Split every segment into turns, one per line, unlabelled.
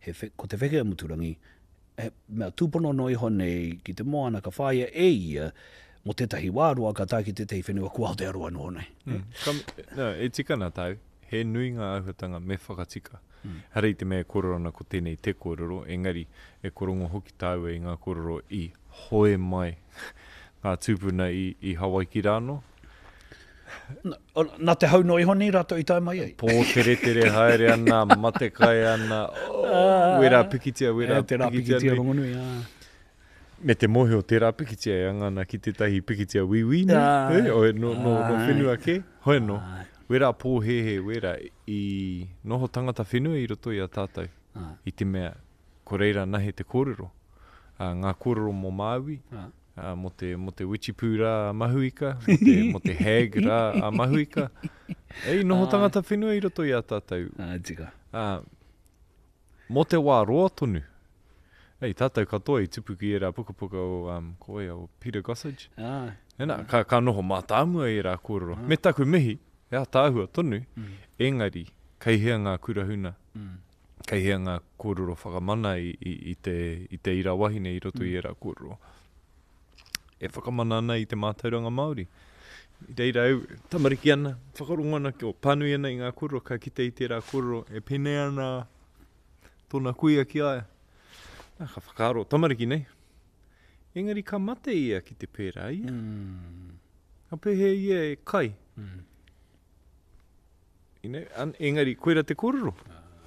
He whe, ko te wheke a Muturangi, he mea tūpono noa iho nei ki te moana ka whāia e ia mō tētahi wā roa ka tae ki tētahi whenua ko Aotearoa noho nei.
Mm. Ka, no, e tika ana tāu, he nui ngā āhuatanga me whakatika. Mm. Hara i te mea e kōrero ana ko tēnei te kōrero, engari e korongo hoki tāua i ngā kōrero i hoe mai ngā tūpuna i, i Hawaiki rānō.
Nā te hau noa iho nei rātou i tae mai ai.
Pōteretere haere ana, matekai ana, oh, wērā pikitia, wērā
pikitia nui. Tērā pikitia rongonui, ā.
Me te mōhio, tērā pikitia e anga ana ki tētahi pikitia wīwī nei, e, o, no, no, no whenua kē, hoi anō. Wērā pōhēhē, wērā i noho tangata whenua i roto i a tātou, i te mea, ko reira nahe te kōrero. Ā, ngā kōrero mō Māui, ā, mō te, mō te witchipū rā a Mahuika, mō te, mō te hag rā a Mahuika. E, i noho tangata whenua i roto i a tātou.
Ā, tika.
Ā, mō te wā roa tonu. Ei, tātou katoa i tupu ki ērā pukapuka o, um, ko wai, o Peter Gossage.
Ā.
Nā, ka, ka noho mātāmua ērā kōrero. Me taku mihi, he ātaahua tonu, mm. engari, kei hea ngā kura huna? Mm. Kei hea ngā kōrero whakamana i, i, i, te, i te ira wahine i roto mm. i ērā kōrero? E whakamana ana i te mātauranga Māori. I reira au, tamariki ana, whakarongo ana, o pānui ana i ngā kōrero, ka kite i tērā kōrero e pēnei ana tōna kuia ki a ia. Nā, ka whakaaro, tamariki nei. Engari ka mate ia ki te pērā ia. Mm. Ka pēhea ia e kai. Mm. You know, an, engari, koira te kōrero.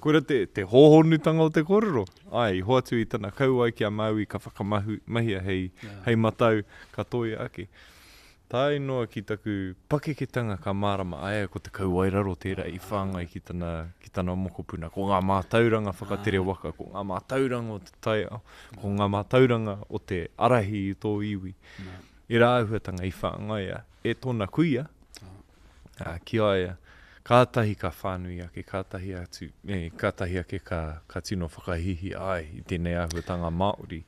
Koira te, te hōhonutanga o te kōrero. Ai, i hoatu i tana kauae ki a Māui ka whakamahu, mahia hei, yeah. hei matau, ka toia ake. Tae noa ki taku pakeketanga ka mārama, aia ko te kauae raro tērā i whāngai ki tana, ki tana mokopuna. Ko ngā mātauranga whakatere waka, ko ngā mātauranga o te taiao, ko ngā mātauranga o te arahi i tō iwi. Ērā āhuatanga i whāngaia e tōna kuia, ā, ki a ia, kātahi ka whānui ake, kātahi atu, e, kātahi ake ka, ka tino whakahīhī ai i tēnei āhuatanga Māori.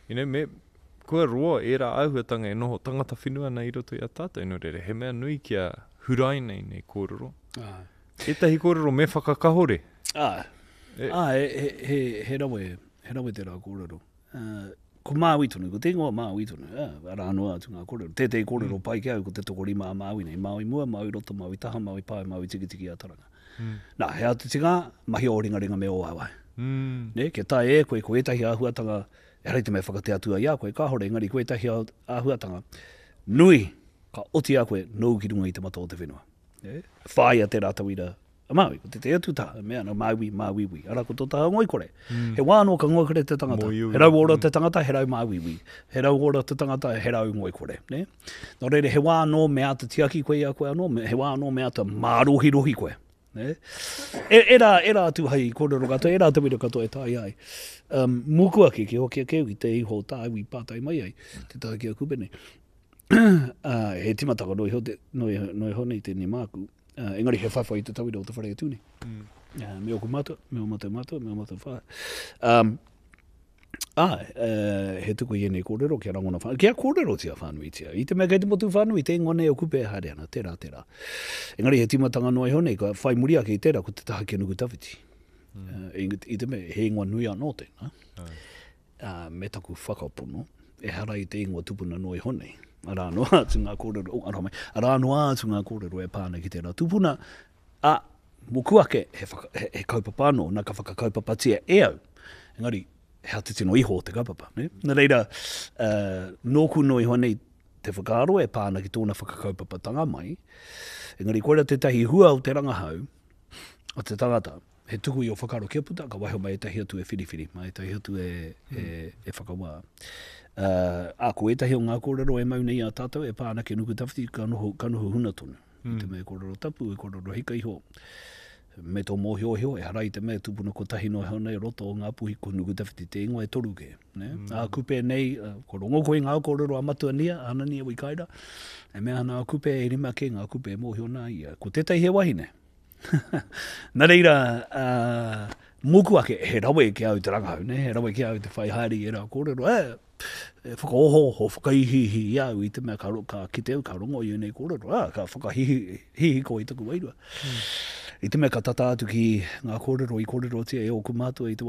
You know, me, kua roa ērā āhuatanga e noho tangata whenua ana i roto i a tātou, nō reira, he mea nui kia huraina ēnei kōrero.
Āe.
Ētahi kōrero me whakakahore.
Āe. E. Āe, he, he, he rawe, he rawe tērā kōrero. Ko Māui tonu, ko te ingoa Māui tonu, arā noa atu ngā kōrero. Tētehi kōrero mm. pai ki au, ko te tokorima a Māui nei, Māui mua, Māui roto, Māui taha, Māui pae, Māui tikitiki a Taranga. Mm. Nā, he atu tinga, mahi o ringaringa me o waewae.
Mm.
Ne, kia tae e koe, ko ētahi āhuatanga, ehara i te mea whakate atua i a koe, kāhore, engari ko ētahi āhuatanga nui, ka oti a koe, nōu ki runga i te mata o te whenua. Ne? Whāia tērā tauira A Māui, ko tētahi atu taha, e mea ana, Māui, Māuiui. Arā, ko tō taha ngoikore. Mm. He wā anō ka ngoikore te tangata.
Moiui.
He rauora mm. te tangata, he rau māuiui. He rauora te tangata, he rau ngoikore. Ne? Nō reira, he wā anō me āta tiaki koe i a koe anō, he wā anō me āta mārohirohi koe. Ne? E, e, rā, e rā atu hai kōrero katoa, e rā tauira katoa e tae ai. Um, mūku ake, ki hoki ake au ki te iho tāu i pātai mai ai, te taha ki a Kupe nei. uh, he timataka no iho, te, no iho, no iho nei tēnei māku. Uh, engari he whawhai i te tauira o te whare e tū nei.
Mm.
Uh, me oku mātua, me o mātou mātua, me o mātou whae. Um, Ā, uh, he tuku i ēnei kōrero kia rangona whānui, kia kōrerotia whānuitia. I te mea kei te motu whānui, te ingoa nei o Kupe e haere ana, tērā, tērā. Engari he tīmatanga noa iho nei, ka whai muri ake i tērā, ko te taha ki a Nukutawhiti.
Mm.
Uh, i, i te mea, he ingoa nui anō tēnā.
Ai.
Ā, me taku whakapono, ehara i te ingoa tupuna noa iho nei. Arā noa atu ngā kōrero, oh, aroha mai, arā noa atu ngā kōrero e pā ana ki tērā tupuna, ā, mōku ake, he, whaka, he, he kaupapa anō, nā ka whakakaupapatia e au. Engari, he aha te tino iho o te kaupapa, ne? Nā reira, uh, nōku noa iho nei te whakaaro e pā ana ki tōna whakakaupapatanga mai, engari koira tētahi hua o te rangahau, o te tangata, he tuku i o whakaaro kia puta, ka waiho mai ētahi atu e whiriwhiri, mā ētahi atu e, e, e whakawā. Uh, ā, ko ētahi o ngā kōrero e mau nei a tātou e pā ana ki Nukutawhiti, ka noho, ka noho huna tonu. Mm. I te mea e kōrero tapu, e kōrero hika iho, me tō mōhiohio, ehara i te mea tupuna kotahi noa iho nei roto o Ngāpuhi, ko Nukutawhiti te ingoa e toru kē. Ne? Mm. Ā, Kupe nei, ko rongo koe i ngā kōrero a Matua Nia, a Anania Wikaira, e mea ana a Kupe e rima kē ngā kupe e mōhio nā ia. Ko tētahi he wahine, Nā reira, uh, mōku ake, he rawe ki au te rangahau, ne? he rawe ki au te whai haere i ērā kōrero, e, e whakaohooho, whakaihiihi i au i te mea ka, ka kite au, ka rongo i ēnei kōrero, ā, ka whakahihiko i taku wairua.
Mm.
I te mea ka tata atu ki ngā kōrero i kōrerotia e ōku mātua i te wā.